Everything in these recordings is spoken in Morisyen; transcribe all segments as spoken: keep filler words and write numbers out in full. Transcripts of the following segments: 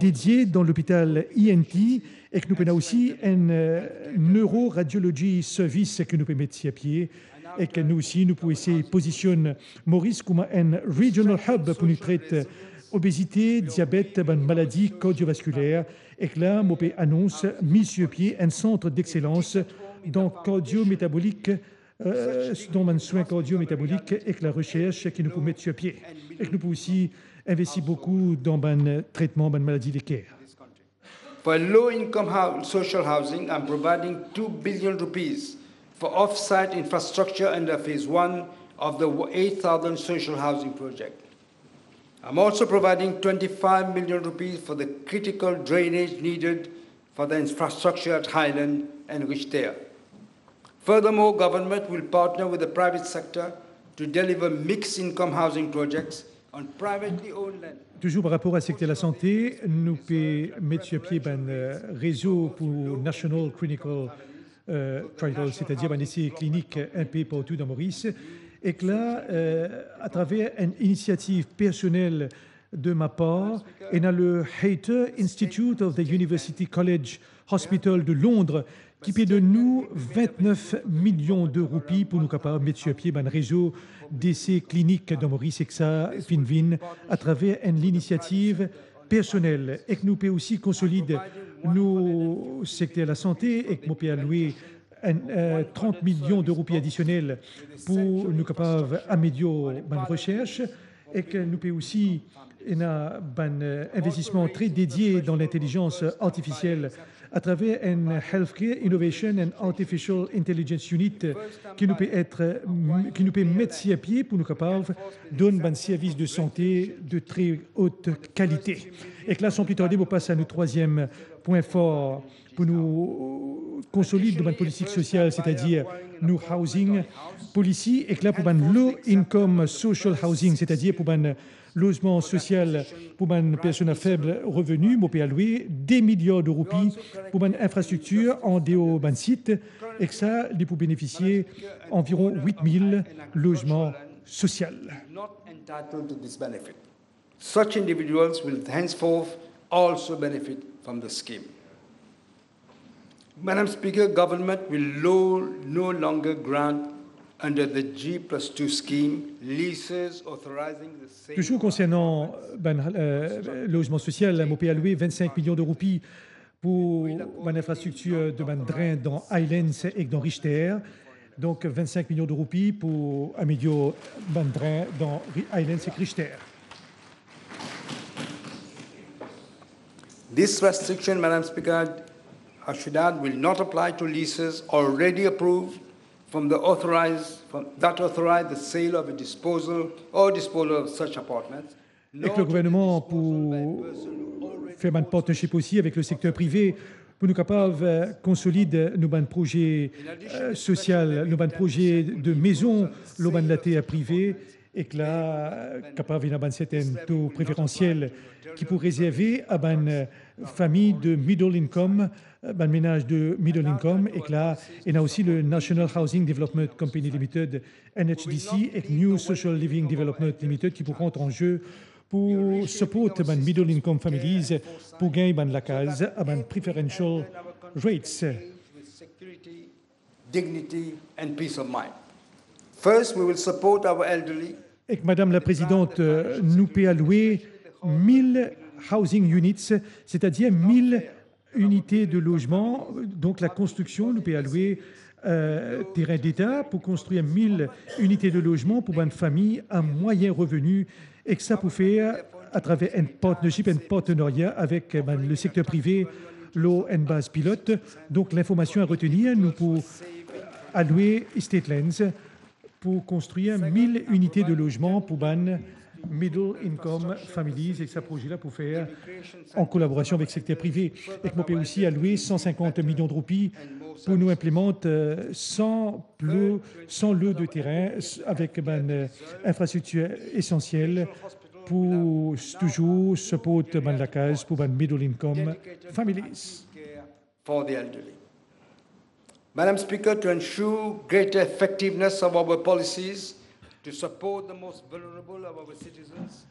dedie dan lopital E N T, ek nou pena osi enn, eh, neuroradiology service ke nou pe met sir pie, ek nou osi nou pou esey pozisionn Moris kouma enn regional hub pou nou tret obezite, diabet, bann maladi kardiovaskiler. Ek la, mo pe anons mi sir pie enn sant dexselans dan kardiometabolik, eh, dan bann swin kardiometabolik ek laresers ki nou pou met sir pie. Ek nou pou osi investi boukou dan bann tretman bann maladi leker. For low-income hou-, social housing, I'm providing two billion rupees for off-site infrastructure under phase one of the eight thousand social housing project. I'm also providing twenty-five million rupees for the critical drainage needed for the infrastructure at Highland and Richter. Furthermore, government will partner with the private sector to deliver mixed-income housing projects on privately owned land. Touzour par rapor a sekter lasante, nou pe met sir pie bann, eh, rezo pou National Clinical, eh, Trial, setadir bann ese klinik inpe partou dan Moris. Ek la, eh, atraver enn inisiativ personel de ma par, ena le Hayter Institute of the University College Hospital de Londres ki pe donn nou vintnef milion de roupi pou nou kapav met sir pie bann rezo dese klinik dan Moris, ek sa finn vinn atraver enn linisiativ personel. Ek nou pe osi konsolid nou sekter lasante, ek mo pe alwe enn, eh, trant milion de roupi adisionel pou nou kapav amelior bann resers, ek nou pe osi ena bann, eh, investisman tre dedie dan lintelizans artifisiel atraver enn Healthcare Innovation and Artificial Intelligence Unit, eh, ki nou pe et, eh, m-, ki nou pe met sir pie pou nou kapav donn bann servis de sante de tre haute kalite. Ek la, san pli tarde, mo pas a nou trwaziem pwin for pou nou konsolid nou bann politik sosial, setadir nou housing policy, ek la pou bann low income social housing, setadir pou bann lozman sosial pou bann personn a feb reveni, mo pe alwe de miliar de roupi pou bann infrastriktir andeor bann sit, ek sa, li pou benefisie anviron wit mil lozman sosial. Not entitled to this benefit. Such individuals will henceforth also benefit from the scheme. Madam Speaker, government will lo-, no longer grant under the G plus two scheme leases authorizing the sale. Touzour konsernan bann, eh, lozman sosial, mo pe alwe vennsenk milion de roupi pou bann infrastriktir de bann dren dan Highlands ek dan Richter. Donk, vennsenk milion de roupi pou amelior bann dren dan Ri-, Highlands ek Richter. This restriction, Madam Speaker, I should add, will not apply to leases already approved from the authorized, from, that authorize the sale of a disposal or disposal of such apartments. Ek le gouvernman pou fer bann partnership osi avek le sekter prive pou nou kapav, eh, konsolid nou bann proze, eh, sosial, nou bann proze de mezon lor bann later prive, ek la, eh, kapav ena bann sertenn to preferansiel ki pou rezerve a bann, eh, fami de middle income, eh, bann menaz de middle income, ek la, ena osi le National Housing Development Company Limited, N H D C, ek New Social Living Development Limited ki pou rant an ze pou support bann middle income families pou gagn bann lakaz a bann preferential rates. Dignity and peace of mind. First, we will support our elderly. Ek Madam la Prezidant, eh, nou pe alwe mil housing units, setadir mil inite de lozman. Donk, la konstriksion, nou pe alwe, eh, terin deta pou konstrir mil inite de lozman pou bann fami a mwayin reveni, ek sa pou fer atraver enn partnership, enn partenaria avek, eh, bann, le sekter prive lor enn baz pilot. Donk, linformasion a retenir, nou pou alwe Estate Lands pou konstrir mil inite de lozman pou bann middle income families, ek sa proze la pou fer an kolaborasion avek sekter prive. Ek mo pe osi alwe san sinkant milion de roupi pou nou inplimant, eh, san plo, san lo de terin s-, avek bann, eh, infrastriktir esansiel pou s-, touzour support bann lakaz pou bann middle income families. For the elderly. Madam Speaker, to ensure greater effectiveness of our policies to support the most vulnerable of our citizens,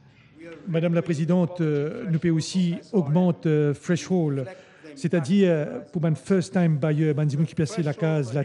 Madam Laprezidant, euh, nou pe osi ogmant, euh, threshold, setadir, euh, pou bann first time buyer, bann dimoun ki pe aste lakaz la